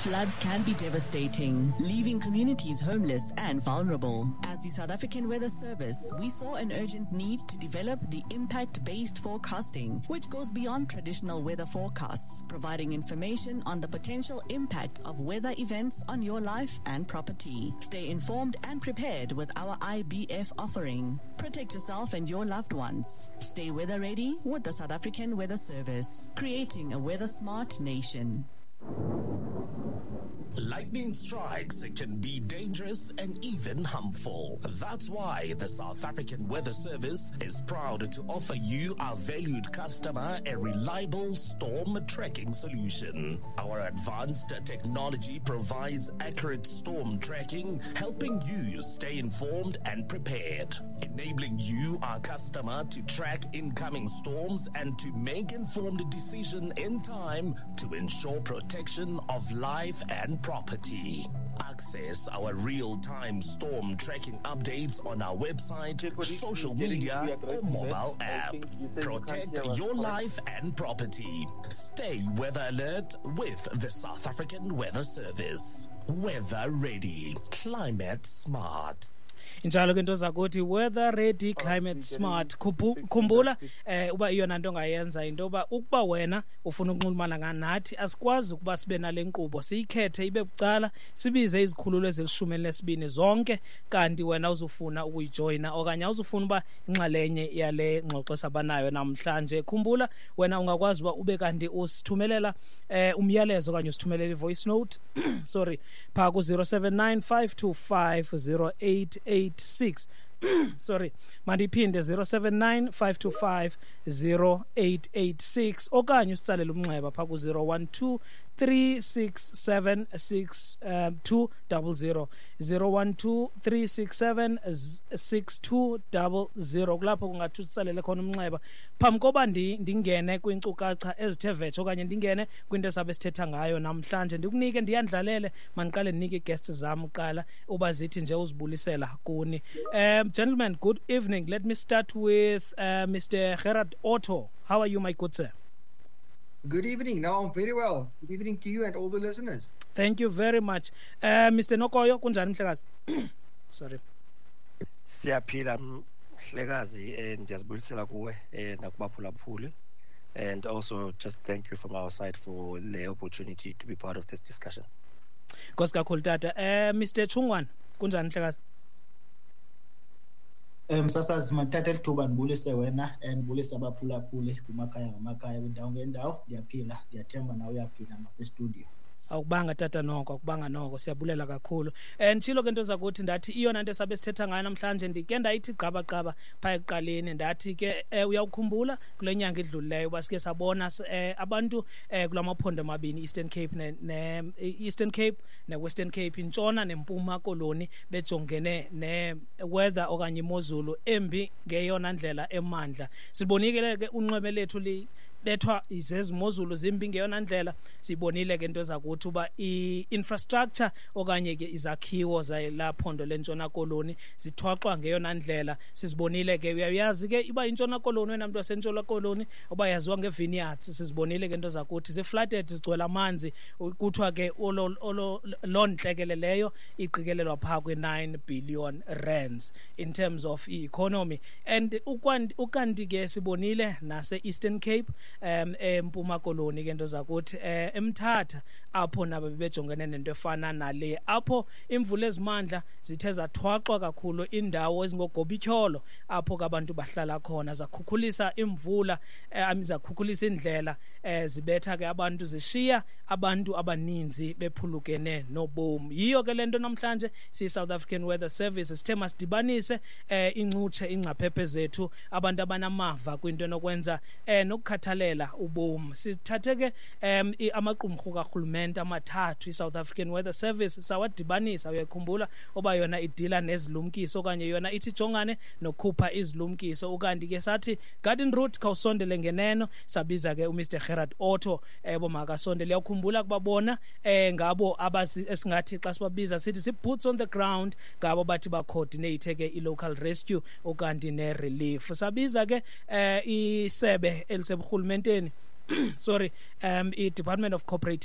Floods can be devastating, leaving communities homeless and vulnerable. As the South African Weather Service, we saw an urgent need to develop the impact-based forecasting, which goes beyond traditional weather forecasts, providing information on the potential impacts of weather events on your life and property. Stay informed and prepared with our IBF offering. Protect yourself and your loved ones. Stay weather ready with the South African Weather Service, creating a weather smart nation. Lightning strikes can be dangerous and even harmful. That's why the South African Weather Service is proud to offer you, our valued customer, a reliable storm tracking solution. Our advanced technology provides accurate storm tracking, helping you stay informed and prepared, enabling you, our customer, to track incoming storms and to make informed decision in time to ensure protection of life and property. Access our real-time storm tracking updates on our website, social media, or mobile app. Protect your life and property. Stay weather alert with the South African Weather Service. Weather ready, climate smart. Injalo ke into zakuthi, weather ready, climate smart. Khumbula uba iyona nto ongayenza into yoba ukuba wena ufuna ukunxulumana nathi, asikwazi ukuba sibe nale nkqubo siyikhethe ibe bucala, sibize izikhululo ezilishumi elinesibini zonke, kanti wena uzufuna ukuyijoyina okanye awuzufuna uba inxalenye yale ngxoxo sabanayo namhlanje. Khumbula, wena ungakwazi uba ube kanti usithumelela umyalezo okanye usithumelela i-voice note, sorry, phaa ku-079 525 0886. Sorry, mandiphinde, 079 525 0886, okanye usitsalele umnxeba phaa ku-012 367 6 200, 012 367 6200. Kulapho kungathi usitsalele khona umnxeba. Phambi koba ndingene kwiinkcukacha ezithe vetshe okanye ndingene kwinto esabe sithetha ngayo namhlanje, ndikunike ndiyandlalele, mandiqale ndinike ii-guests zam kuqala uba zithi nje uzibulisela kuni. Gentlemen, good evening. Let me start with Mr. Gerard Otto. How are you, my good sir? Good evening. No, I'm very well. Good evening to you and all the listeners. Thank you very much. Mr. Nokoyo, kunjani mhlekazi? Sorry. Siyaphila mhlekazi, ndiyazibulisela kuwe nakubaphulaphuli, and also just thank you from our side for the opportunity to be part of this discussion. Nkosi kakhulu, tata. Mr. Chungwana, kunjani mhlekazi? Msasazi, mandithathe elithuba ndibulise wena and ndibulise abaphulaphuli kumakhaya ngamakhaya, kwindawo ngendawo. Ndiyaphila, ndiyathemba nawe uyaphila ngapha estudiyo. Awukubanga tata noko, akubanga noko, siyabulela kakhulu. Nditshilo ke nto zakuthi, ndathi iyona nto esabe sithetha ngayo namhlanje, ndike ndayithi gqaba-gqaba phaa ekuqaleni, ndathi ke uyawukhumbula kule nyanga idlulileyo uba sike sabona abantu kula maphondo amabini, Eastern Cape ne-Western Cape, Intshona neMpuma Koloni, bejongene ne-weather okanye imozulu embi ngeyona ndlela emandla. Sibonile ke unxweme lethu bethwa izezimozulu zimbi ngeyona ndlela. Sibonile ke into zakuthi uba i-infrastructure okanye ke izakhiwo zalaphondo leNtshona Koloni zithwaxwa ngeyona ndlela. Sizibonile ke, uyayazi ke iba iNtshona Koloni, wena mntu waseNtshona Koloni, uba yaziwa nge-vineyards. Sizibonile ke into zakuthi zi-flooded, zigcwele amanzi. Kuthiwa ke olo loo ntlekele leyo iqikelelwa phaa kwi-R9 billion in terms of i-economy. And ukanti ke sibonile nase-Eastern Cape, eMpuma Koloni ke nto zakuthi, eMthatha, apho nabo bebejongene nento efana nale, apho imvula ezimandla zithe zathwaxwa kakhulu indawo ezingogobityholo apho ke abantu bahlala khona, zakhukhulisa imvula, zakhukhulisa indlela, zibetha ke abantu, zishiya abantu abaninzi bephulukene nobomi. Yiyo ke lento namhlanje siyi-South African Weather Service sithe masidibanise incutshe, ingcaphephe zethu, abantu abanamava kwinto enokwenza nokukhathalela ubomi. Sithathe ke amaqumrhu karhulumente amathathu, i-South African Weather Service, sawadibanisa. Uyayikhumbula oba yona idila nezilumkiso okanye yona ithi jongane nokukhupha izilumkiso. Ukanti ke sathi Garden Route khawusondele ngeneno, sabiza ke uMr Gerard Otto ebo makasondele. Uyakhumbula kuba bona ngabo abazi esingathi xa sibabiza sithi si-boots on the ground, ngabo bathi ba-coordinate ke i-local rescue ukanti ne-relief. Sabiza ke isebe eliseburhulumenteni, sorry, i-Department of Cooperative